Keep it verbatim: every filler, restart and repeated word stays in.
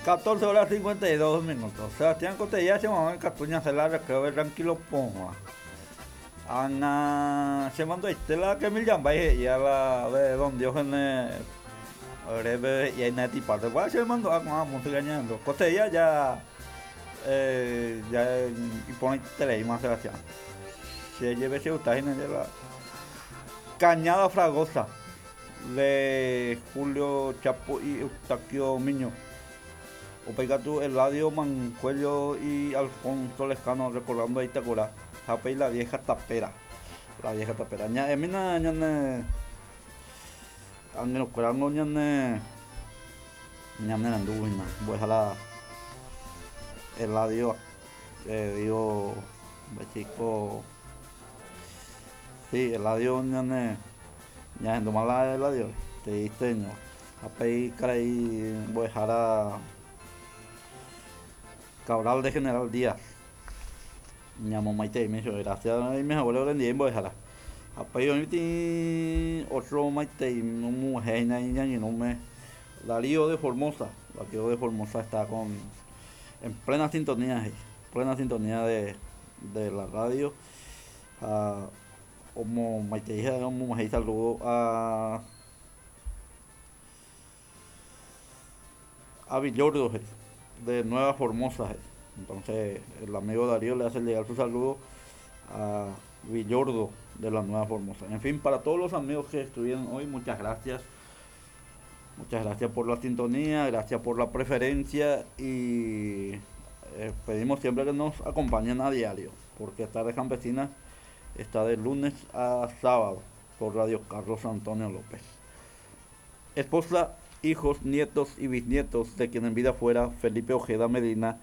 catorce horas cincuenta y dos minutos. Sebastián Cotella se mamá Catuña se la recreo tranquilo ponga. Ana se mandó Estela que mil llambay y a la de don Diógenes breve y ahí neti parte. Bueno, se mandó a con la música ñando. Cotella ya eh, ya y pone tele más Sebastián. Se lleve se gusta en la Cañada Fragosa de Julio Chapo y Eustaquio Miño. Opegatu Eladio Mancuello y Alfonso Lejano recordando ahí Itacura. Japey la vieja tapera. La vieja tapera. Ña emina ñane angelo curango ñane ñane nanduina. Voy a la Eladio eh, digo chico. Sí, Eladio ñane ñane mala Eladio. Te diste ño. Japey caray voy a dejar a Cabral de General Díaz. Ñamo maite me dijo, gracias a mis abuelos le dije, voy a dejar. Apay hoy otro maite no mujer ni no me Darío de Formosa, Darío de Formosa está con en plena sintonía, plena sintonía de, de la radio. Ah, como maite hija, como mujer saludo a a Villordo de Nueva Formosa. Entonces el amigo Darío le hace llegar su saludo a Villordo de la Nueva Formosa. En fin, para todos los amigos que estuvieron hoy, muchas gracias. Muchas gracias por la sintonía, gracias por la preferencia y eh, pedimos siempre que nos acompañen a diario, porque Tardes Campesinas está de lunes a sábado por Radio Carlos Antonio López. Esposa, hijos, nietos y bisnietos de quien en vida fuera Felipe Ojeda Medina